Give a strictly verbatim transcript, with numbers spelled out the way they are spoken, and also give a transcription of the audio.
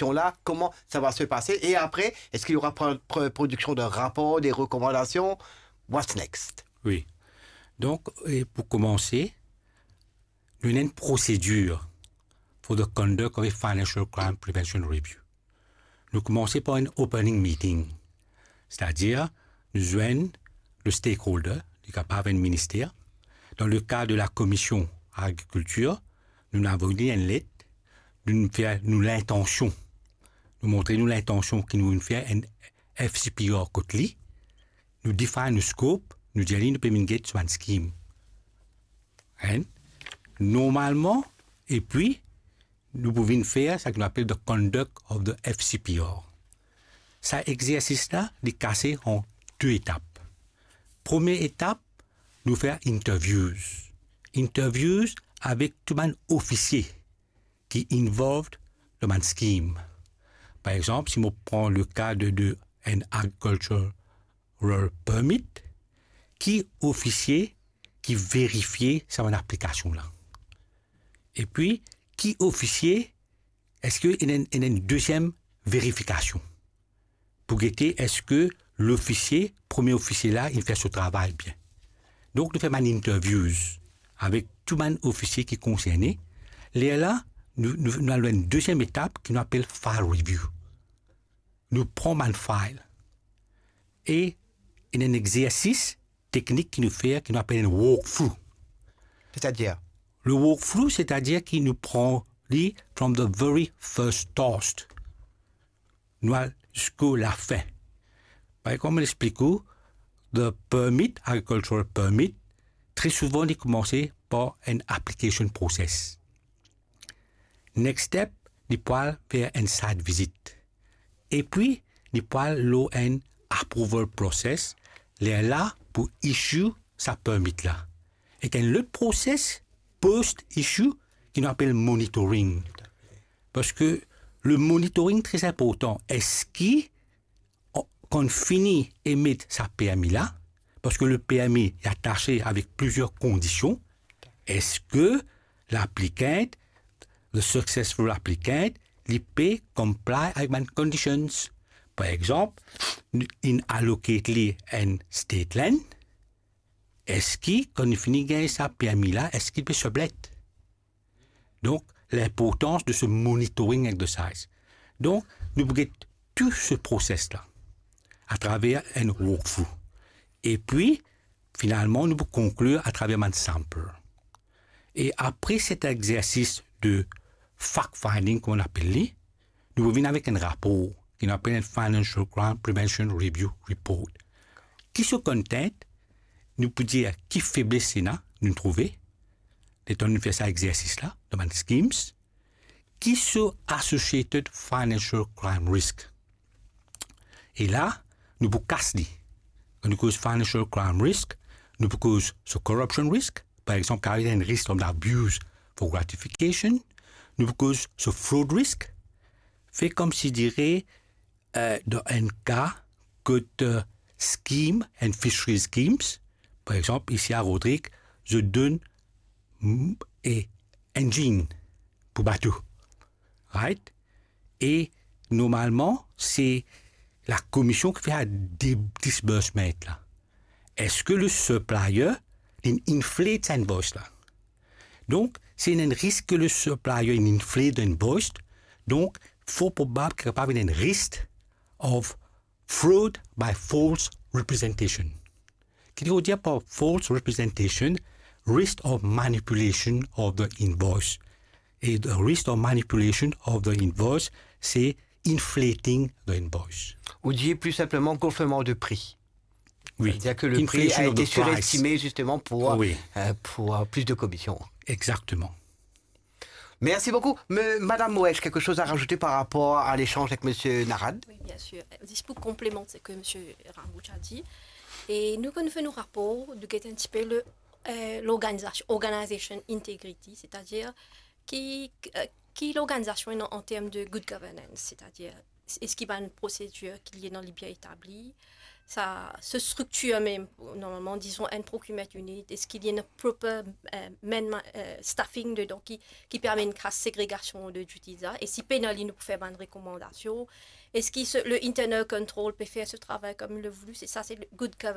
la, comment ça va se passer? Et après, est-ce qu'il y aura pro-, pro-, production d'un rapport, des recommandations? What's next? Wi. Donk, e pou koumanse, nou ena enn prosedir for the conduct of a Financial Crime Prevention Review. Nou koumanse par enn opening meeting. Setadir, nou zwenn le stakeholder, li kapav enn minister. Dan le ka de la Komision Agrikiltir, nou avoy li enn let, nou fer nou lintansion. Nou montre nou lintansion ki nou fer enn F C P R kot li. Nou define nou scope, nou dir li nou pe vinn get so bann skim. Hein? Normalman, epi, nou pou vinn fer sa ki nou apel the conduct of the F C P R. Sa exersis la, li kase an de etap. Premie etap, nou fer interviews. Interviews avek tou bann ofisie ki involved dan bann skim. Par exanp, si mo pran le ka de, de enn agricultural permit, ki ofisie ki verifie sa bann aplikasion la? Epi, ki ofisie, eski ena enn, ena enn deziem verifikasion pou gete eski lofisie, premie ofisie la, inn fer so travay bien? Donk, nou fer bann interviews avek tou bann ofisie ki konserne. Lerla, nou, nou, nou al dan enn deziem etap ki nou apel file review. Nou pran bann file e ena enn exersis teknik ki nou fer, ki nou apel enn walkthrough. C'est-à-dire? Le walkthrough, setadir ki nou pran li from the very first toast. Nou al ziska lafin. Par exanp, mo explik ou, the permit, agricultural permit, tre souvan li koumanse par enn application process. Next step, li pou al fer enn site visit. Epi, li pou al lor enn approval process, lerla pou issue sa permit la. Ek enn lot process post issue ki nou apel monitoring. Parski le monitoring tre inportan. Eski, kan fini emet sa permi la, parski le permi li atase avek plizier kondision, eski l'applicant, the successful applicant, li pe comply avek bann conditions? Par exanp, inn allocate li enn state land, eski kan li fini gagn sa permi la, eski li pe sublet? Donk, linportans de se monitoring exercise. Donk, nou pou get tou se process la atraver enn walkthrough. Epi, finalman, nou pou konklir atraver bann sample. E apre set exersis de fact finding, kouma nou apel li, nou pou vinn avek enn rapor ki nou apel enn Financial Crime Prevention Review Report. Ki so content, nou pou dir ki febles ena, nou trouve, letan nou fer sa exersis la, dan bann schemes, ki so associated financial crime risk. E la, nou pou kas li. Kan nou koz financial crime risk, nou pou koz so corruption risk, par exanp, kapav enn risk of abuse for gratification, nou pou koz so fraud risk, fer koumsidire, eh, dan enn ka kot, eh, scheme, enn fishery schemes, par exanp, isi a Rodrig, zot donn, mm, e engine pou bato. Right? E normalman, se la komision ki fer la di-, disbursement la. Eski le supplier, li inflate sa invoice la? Donk, si ena enn risk ki le supplier inn inflate the invoice, donk, for probab ki kapav ena enn risk of fraud by false representation. Ki vedir par false representation, risk of manipulation of the invoice. E the risk of manipulation of the invoice, se inflating the invoice. Ou dir pli sinpleman gonfleman de pri. Wi. C'est-à-dire que le prix a été surestimé justement pour, euh, pour, euh, plus de commissions. Exactement. Merci beaucoup. Me-, Madame Moesch, quelque chose à rajouter par rapport à l'échange avec Monsieur Narad? Oui, bien sûr. Euh, juste pour complémenter ce que Monsieur Ramouche a dit, et nous, quand nous faisons nos rapports, nous guettons un petit peu le, euh, l'organisation, organization integrity, c'est-à-dire qui, euh, qui l'organisation est en, en termes de good governance, c'est-à-dire est-ce qu'il y a une procédure qui est dans les bien établie, sa, se striktir mem, normalman, dizon, enn procurement unit, eski li ena proper, eh, man-, eh, staffing dedan ki, ki permet enn kras segregasion de duties la? E si pena li, nou pou fer bann rekomandasion. Eski se, le internal control pe fer se travay kom li le voulu? Se sa, se le good governance.